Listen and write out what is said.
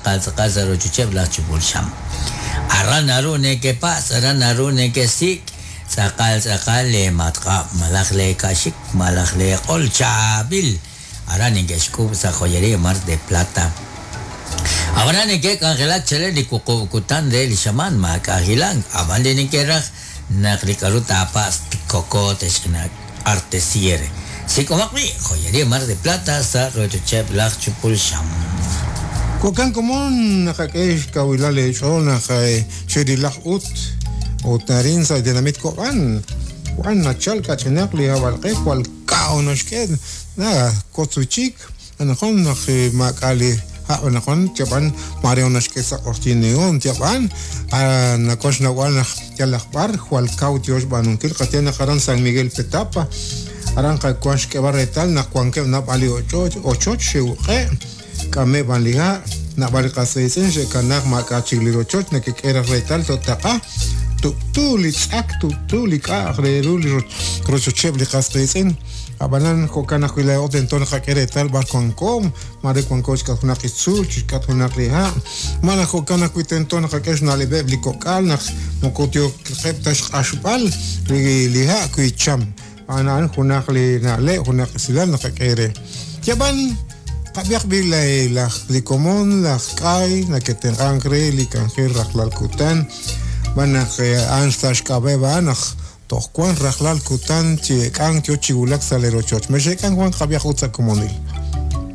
tz'aqal tz'aqal sa' rochocheb' laj chupul xam. Aran naru nekepatz', aran naru nekesik' tz'aqal tz'aqal lee matq'ab' malaj lee ka'xik malaj lee q'ol chaab'il. Aran neke'xk'uub' sa' Joyería Mar de Plata. Ab'anan neke'k'anjelak chalen li wuqub' kutan re li xamaan maak'a' hilank, ab'an li neke'raj naq li k'aru taapatz' tkoko te'xch'ina artesiere. Sik'omaq b'i' Joyería Mar de Plata sa' rochocheb' laj chupul xam. Jo'kan komon naqak'e xkawilal eech'ool naq cherilaq ut ut arin sa' li tenamit Ko'b'an wan nachal kach'inaq li hab'alq'e jwal kaw naxk'e na kotz wi' chik anaqwan naq maak'a' li hab' anaqwan yab'an maare naxk'e sa' q'oqyink neon yab'an nawan xnawb'al naq yalaq b'ar jwal kaw yo xb'aanunkil qaye naq aran San Miguel Petapa aran qawan xk'eeb'al reetal naq wankeb' naab'al li ochoch xe'uq'e' k'ameb' b'an li ha' naab'al li qas qiitz'in xe'kanaak maak'a' chik li rochoch neke'k'e raj reetal to'taq'a tub'tu li tz'ak tub'tu li k'a'aq re ru li rochocheb' li qas qiitz'in Ab'anan, jo'kan ajwi' laa'o tento naqak'e reetal b'ar wanko, maare wanko chixk'atq junaq li tzuul, chixk'atq junaq li ha', malaj jo'kan ajwi' tento naqak'e xna'leb'eb' li kok'al naq moko yooqeb' ta xq'axb'al li ha' wi cham. A'an a'an junaq li na'leb', junaq esilal naqak'e re. Yab'an, qab'ihaq b'i' laj li komon, laj k'ay nake'tenq'ank re li k'anjel rajlal kutan, xb'aan naq a'an sa' xk'ab'a'eb' a'an naq Toj wank rajlal kutan chi eek'ank yo chi wulak sa' lee rochoch. Mex'eek'ank wan qab'ihaq ut sa' komonil.